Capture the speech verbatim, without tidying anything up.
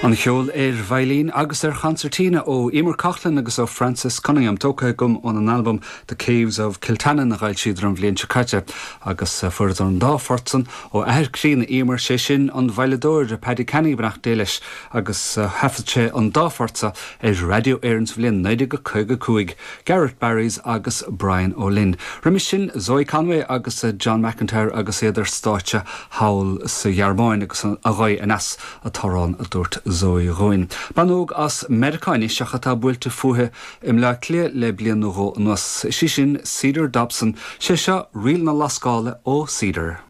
An ceol ar veidhlín agus ar chonsairtín ó Emer Coughlan agus ó Francis Cunningham tógtha agam ón albam The Caves of Kiltannon a d'fhoilsíodar an bhliain seo caite agus fuaireadar an dá phort san ó athair críonna Emer sé sin an veidhleadóir Paddy Canny beannacht Dé leis agus thaifead sé an dá phort ar Radio Éireann sa bhliain naoi déag caoga cúig, Garrett Barrys agus Brian O'Lynn. Roimhe sin Zoe Conway agus John McIntyre agus iad ar stáitse thall sa Ghearmáin agus a ghaoth aneas an t-amhrán a dúirt Zoe dhúinn. Bean óg as Meiriceá anois ach atá buailte fúithi i mBleá Cliath le bliain nó dhó anuas. Sí sin Cedar Dobson, sé seo Ríl na Lascála ó Cedar.